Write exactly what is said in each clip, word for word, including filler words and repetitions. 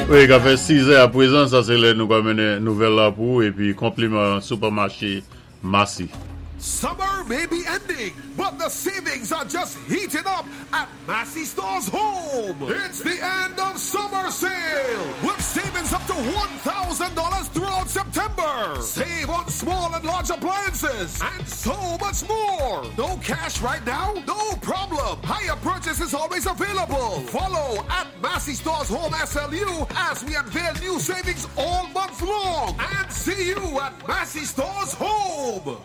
Wi, ka fè sis è apwézan, sa sé lè nou ka mennen nouvèl la pou épi konpliman sipèmaché Massy. Summer may be ending, but the savings are just heating up at Massy Stores Home. It's the end of summer sale with savings up to one thousand dollars throughout September. Save on small and large appliances and so much more. No cash right now? No problem. Hire purchase is always available. Follow at Massy Stores Home S L U as we unveil new savings all month long. And see you at Massy Stores Home.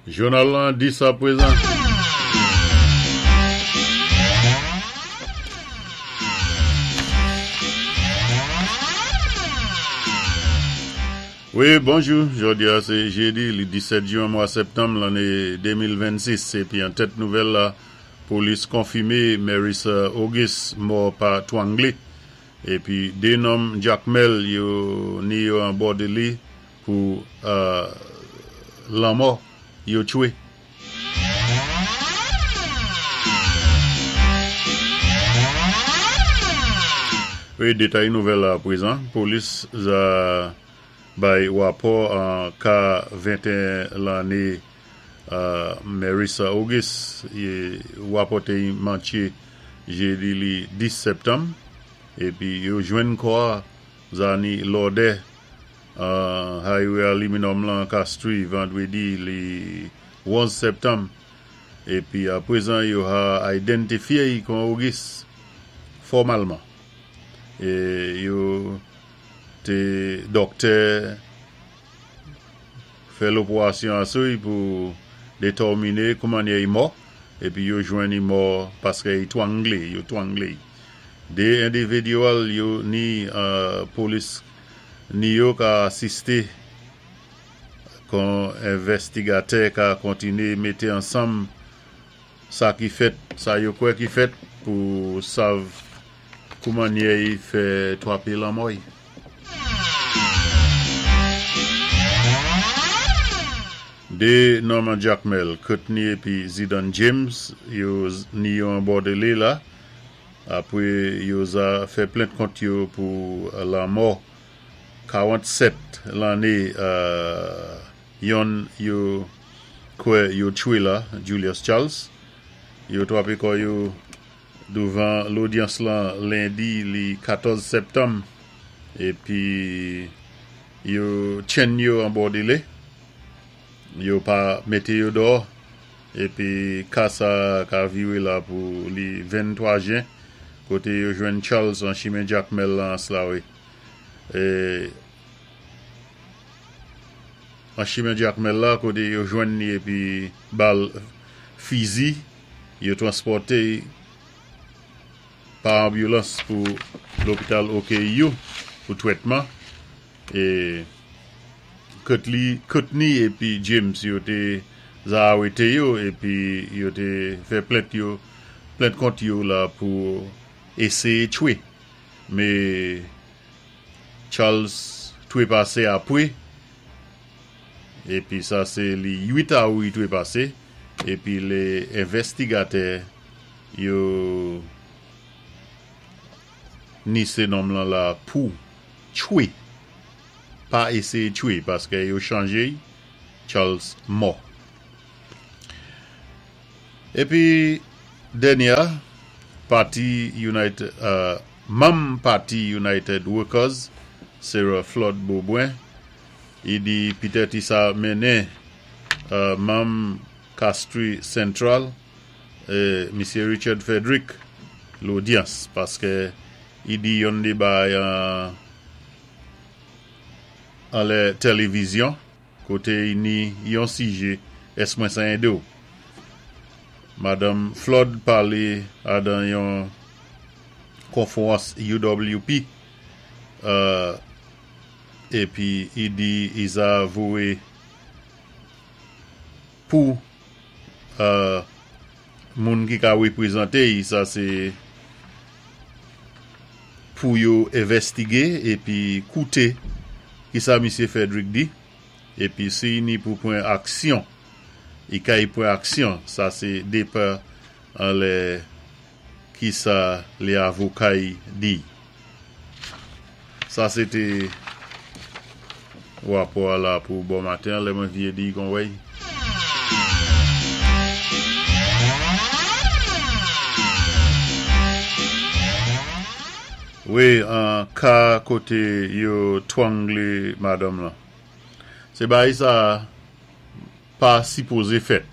Jounal lan dis apwézan. Wi, bonjou. Jòdi a sé jédi, li disèt jwen mwa septanm lanné de mil vennsis. Épi an tèt nouvèl la, polis konfimé Marissa Auguste mò pa twanglé. Épi dé nonm Jakmèl yo ni yo an bòdélé pou euh, lanmò yo tchwé. Wi, détay nouvèl la apwézan. Polis za bay wapò an ka venteyen lanné euh, Marissa Auguste wapòté mantché jédi li dis septanm épi yo jwenn kò a za ni lòdè uh, highway aluminum lan Castries vandwédi li onz septanm épi apwézan yo ha idantifyé kon Auguste fòmalman é yo té dòktè fè lopérasyon asou pou détèminé kouman i mò épi yo jwenn i mò paské i twanglé, yo twanglé. Dé endividyèl yo ni euh, polis ni yo ka asisté kon envèstigatè ka kontiné mété ansanm sa ki fèt, sa yo kwè ki fèt pou sav kouman i fè twapé lanmò. Dé nonm Jakmèl, Courtney épi Zidane James, yo ni yo an bòdélé la, apwé yo za fè plent kont yo pou lanmò kawannsèt lanné euh, yonn yo kwè yo tchwé la, Julius Charles. Yo twapé kò yo douvan lodyans lan lendi li katòz septanm épi yo tchenn yo an bòdélé. Yo pa mété yo dò épi ka sa ka viré la pou li venntwa jen koté yo jwenn Charles an chimen Jakmèl lan Anse La Raye. É an chimen Jakmèl la koté yo jwenn ni épi bal fizi yo transpòté pa anbilans pou lopital O K U pou twètman é Courtney, Courtney épi James yo té za arété yo épi yo té fè plent yo plent kont yo la pou éséyé tchwé. Mé Charles twé pasé apwé épi sa sé li uit awou twé pasé épi lé envèstigatè yo ni sé nonm lan la pou tchwé, pa éséyé tchwé paské yo chanjé Charles mò. Épi dènyé pati United euh, manm pati United Workers Sarah Flood Beaubrun i di pitèt i sa mennen euh, manm Castries Central euh, Misye Richard Frederick lodyans paské i di yon dé bay an an lè télévizyon koté i ni yon sijé ès mwen sa do. Madanm Flood palé adan yon konfwérans U W P euh, épi i di i za voyé pou euh, moun ki ka wépwézanté sa sé pou yo envèstigé épi kouté ki sa Misye Frederick di épi si ni pou pwan aksyon i kay pwan aksyon sa sé dépa an lè ki sa lé avokay di. Sa sé té wapò la pou bon maten, lè mwen vyé di kon wèy. Wi, an ka koté yo twanglé madanm lan. Sé bagay sa pa sipozé fèt.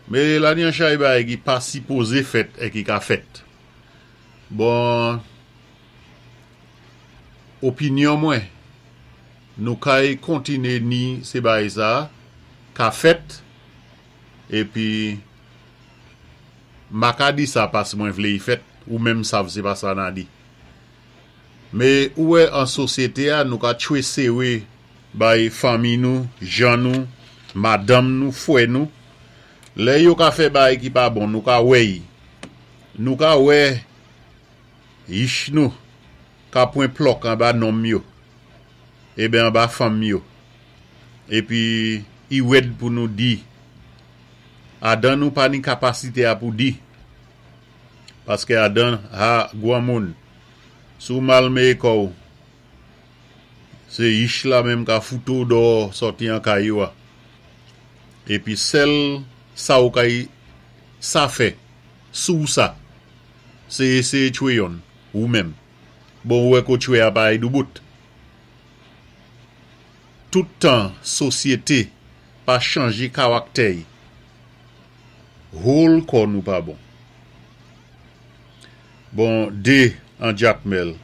Mé la ni an chay bagay ki pa sipozé fèt é ki ka fèt. Bon, opinyon mwen, nou kay kontiné ni sé bagay sa ka fèt épi m pa ka di sa paski mwen vlé y fèt ou menm sav sé pa sa na di. Mé ou wè an sosyété a nou ka tchwé séwé bay fanmi nou, jan nou, madanm nou, fwè nou. Lè yo ka fè bagay ki pa bon, nou ka wè y. Nou ka wè yich nou ka pwan plòk anba nonm yo. Eben anba fanm yo. Épi i wèd pou nou di. Adan nou pa ni kapasité a pou di. Paské adan ha gwanmoun. Si ou mal méyé kò-w, sé yich la menm ka fout-ou dò sòti an kay yo a. Épi sèl sa ou kay sa fè, sou sa, sé éséyé tchwé yonn, ou menm. Bon, ou wè kou tchwé a pa ay doubout. Tout tan sosyété pa chanjé kawaktè-y, whole kò nou pa bon. Bon, dé an Jakmèl.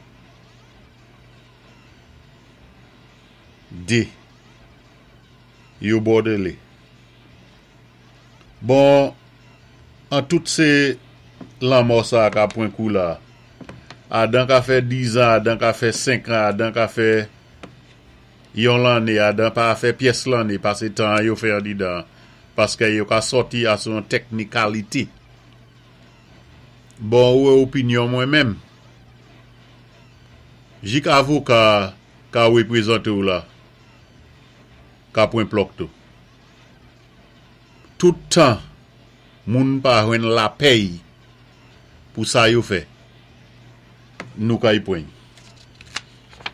Dé. Yo Bòdélé. Bon, an tout sé lanmò sa ka pwan kou la. Adan ka fè dizan, adan ka fè senkan, adan ka fè yon lanné, adan pa fè pyès lanné, pasé tan yo fè andidan, paské yo ka sòti a son teknikalité. Bon, ou wè opinyon mwen menm? Jik avoka ka wépwézanté ou la, ka pwan plòk tou. Tout tan, moun pa jwenn lapèy pou sa yo fè, nou kay pwan.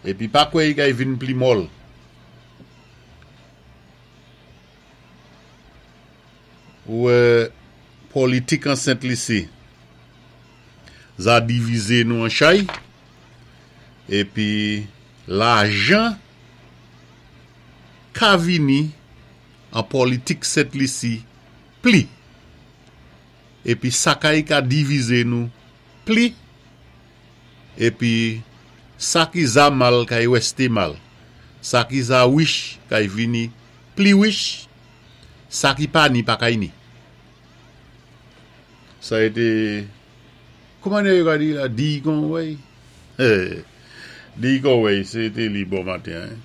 Épi pa kwè i kay vin pli mòl. Ou wè politik an Sent Lisi, za divizé nou an chay, épi lajan ka vini an politik Sent Lisi pli. Épi sa kay ka divizé nou pli. Épi sa ki za mal kay wèsté mal. Sa ki za wich kay vini pli wich. Sa ki pa ni pa kay ni. Sa été, kouman yo ka di la, di kon wèy? Di kon wèy, sé té li bon maten.